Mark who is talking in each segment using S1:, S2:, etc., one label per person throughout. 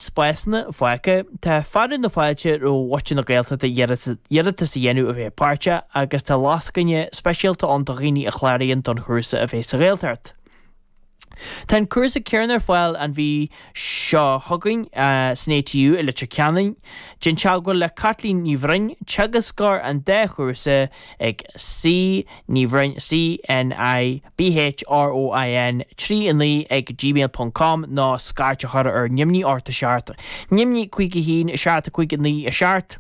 S1: Spásanna fágtha, tá fearadh na fáilte roimh mhuintir na Gaeltachta iarratas a dhéanamh a bheith páirteach agus tá lascaine speisialta ann do dhaoine a chláraíonn don chúrsa a bheith sa Ghaeltacht. Tá an cúrsa céanna ar fáil an mhí seo chugainn san ATU i Leitir Ceanainn. Déan teagmháil le Caitlín Ní Bhroin, teagascóir an dá chúrsa ag C Ní Bhroin, C N I BHROIN 3 9 ag gmail ponc com nó scairt a chur ar neamhní 8 7 neamhní 5 1 7 5 9 7.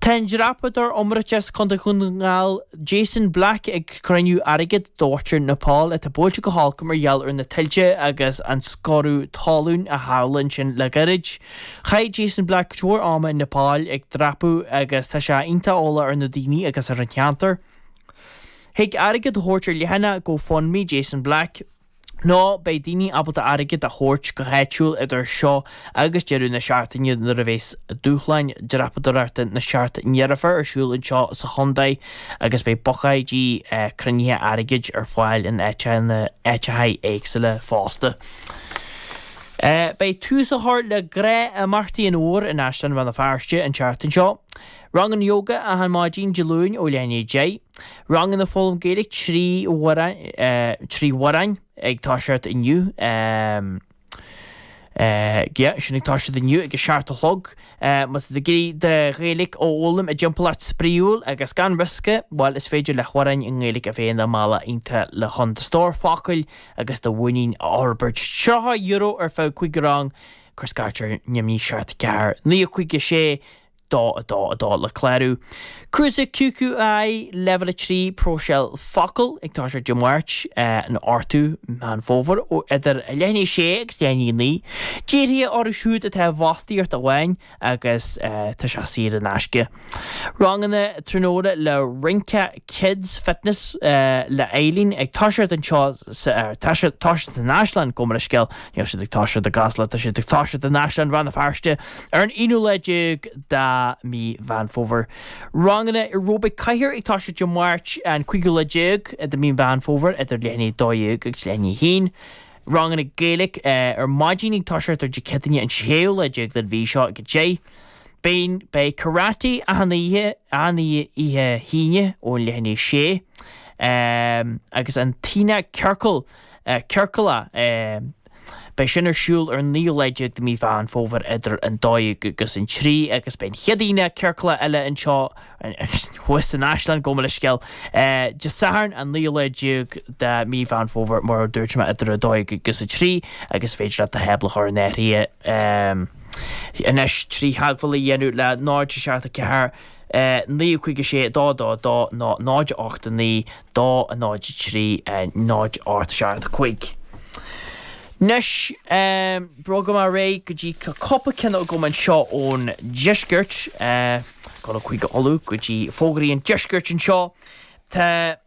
S1: Tá an dreapadóir iomráiteach as Contae Dhún na nGall Jason Black ag cruinniú airgid do mhuintir Nepal atá buailte go holc mar gheall ar na tuilte agus an scoradh talún a tharla ansin le gairid. Chaith Jason Black cuid mhór ama in Nepal ag dreapadh agus tá sé iontach eolach ar na daoine agus ar an cheantar. Thig airgead a thabhairt ar leathanach GoFundMe Jason Black, nó beidh daoine ábalta airgead a thabhairt go háitiúil idir seo agus deireadh na seachtaine nuair a bheas dúshláin dreapadóireachta na Seacht nDeirféar ar siúl anseo sa chontae agus beidh buicéidí cruinnithe airgid ar fáil in áiteacha éagsúla fosta. Beidh tús á chur le gnáthimeachtaí an fhómhair in Áislann Rann na Feirste an tseachtain seo. Ranganna Yoga achan maidin Dé Luain ó leath i ndiaidh 10. Ranganna foghlaim Gaeilge 3 Mhuireáin ag toiseacht inniu. Yeah, sin ag toiseacht inniu ag a 7 a chlog. Má tá tú ag iarraidh do Ghaeilge a fhoghlaim i dtimpeallacht spraíúil agus gan riosca, bhuel is féidir le hAmhráin i nGaeilge a bheith ina mbealach iontach le chun do stór focail agus do mhuinín a fhorbairt. €30 ar feadh 5 rang, cuir scairt ar neamhní 7 4 9 5 6 2 2 2 le clárú. Cúrsa QQI Leibhéal 3 Próiseáil Focal ag toiseacht Dé Máirt an 8ú Meán Fómhair ó idir leath i ndiaidh 6 agus leath i ndiaidh 9. Dírithe orthu siúd atá i bhfostaíocht amháin agus tá sé saor in aisce. Ranganna tráthnóna le Rince Kids Fitness le Eileen ag toiseacht anseo sa toiseacht san Áislann, gabh mo leithscéal, níl siad ag toiseacht i gCasla, tá siad ag toiseacht in Áislann Rann na Feirste. Ar an aonú lá déag de mhí Mheán Fómhair. Ranganna Aeróbaic Cathair ag toiseacht Dé Máirt an cúigiú lá déag de mhí Mheán Fómhair idir leath i ndiaidh 12 agus leath i ndiaidh 1. Ranganna Gaeilge ar maidin ag toiseacht ar Dé Céadaoine an séú lá déag den mhí seo ag 10. Beidh beidh Karate achan oíche achan oíche hAoine ón leath i ndiaidh 6 agus an tAoine Ciorcal Ciorcalach. Beidh sin ar siúl ar an naoú lá déag de mhí Mheán Fómhair idir an 12 agus an 3 agus beidh an chéad Aoine Ciorclach eile anseo thuas san Áislann, gabh mo leithscéal, Dé Sathairn an naoú lá déag de mhí Mheán Fómhair mar a dúirt mé idir 12 agus 3 agus is féidir leat do thábla a chur in áirithe anois trí theagmháil a dhéanamh le 0 7 4 9 5 6 2 2 2 nó 0 8 9 2 0 3 0 8 7 5. Anois, bogfaidh mé ar aghaidh go dtí cúpla ceann agam anseo ón deisceart, dul chuig Uladh go dtí fógraí an deiscirt anseo. Tá,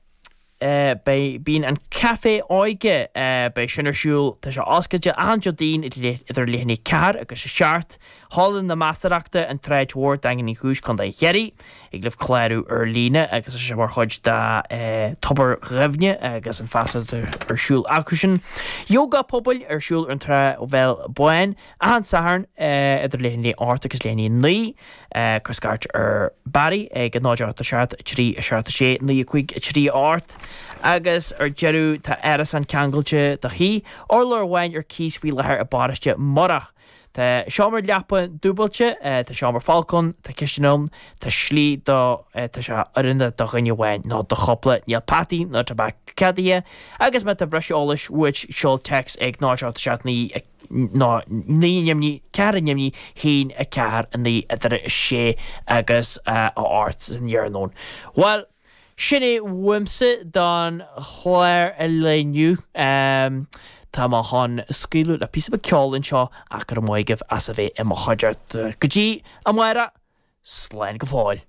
S1: beidh, bíonn an Café Óige, beidh sin ar siúl, tá sé oscailte achan Déardaoin idir leath i ndiaidh 4 agus 7. Halla na Measarthachta, An tSráid Mhór, Daingean Uí Chúis, Contae Chiarraí. Thig libh clárú ar líne agus tá sé mar chuid de Tobar Dhuibhne agus an feasacht ar siúl acusan. Yoga pobail ar siúl ar an Trá Bhéal Bán achan Satharn idir leath i ndiaidh 8 agus leath i ndiaidh 9. Cuir scairt ar Barry ag 0 8 7 3 7 6 9 5 3 8 agus ar deireadh tá árasán ceangailte do thigh, urlár amháin ar cíos faoi láthair i bparóiste Murach. Tá seomra leapa dúbailte, tá seomra folctha ann, tá cistin ann, tá slí do, tá sé oiriúnach do dhuine amháin nó do chúpla, níl peataí ná tobac ceadaithe, agus má tá breis eolais uait seol téacs ag 0 8 7 9 nó 9 neamhní 4 neamhní 1 4 9 idir 6 agus 8 san iarnóin. Bhuel, Sin é uaimse don chlár an lae inniu. Tá mé chun scaoileadh le píosa beag ceoil anseo ach go raibh maith agaibh as a bheith i mo chuideachta. Go dtí amárach, slán go fóill.